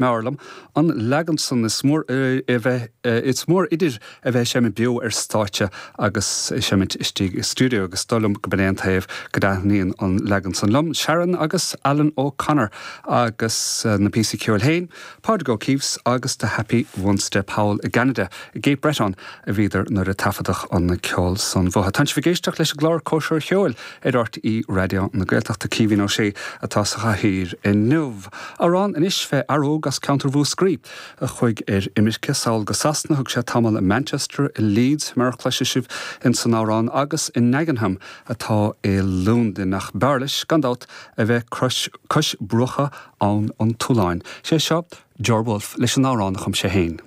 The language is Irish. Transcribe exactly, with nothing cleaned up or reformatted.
M'fhearr liom an leagan san is mór a bheith is mór idir a bheith ag seimint beo ar stáitse agus ag seimint istigh i stiúideo agus dóigh liom go b'in é an taobh go dtaitníonn an leagan san liom. Sharon agus Alan O'Connor agus na píosaí ceoil féin, Pádraig O'Keeffe agus The Happy One Step thall i gCeanada i gCape Breton a bhíodar nuair a taifeadadh an ceol san uathu. Tá sibh ag éisteacht leis an gclár Cóisir Cheoil ar RTÉ Raidió na Gaeltachta Caoimhín Ó Sé atá sa chathaoir inniu. Amhrán anois fé fhear óg as ceantar Mhúscraí a chuaigh ar imirce sall go Sasana thug sé tamall i Manchester i Leeds mar a chloisfidh sibh in san amhrán agus i Dagenham atá i Londain ach b'fhearr leis gan dabht a bheith cois bruacha abhann an tSuláin. Sé seo Ger Wolfe leis an amhrán a chum sé féin.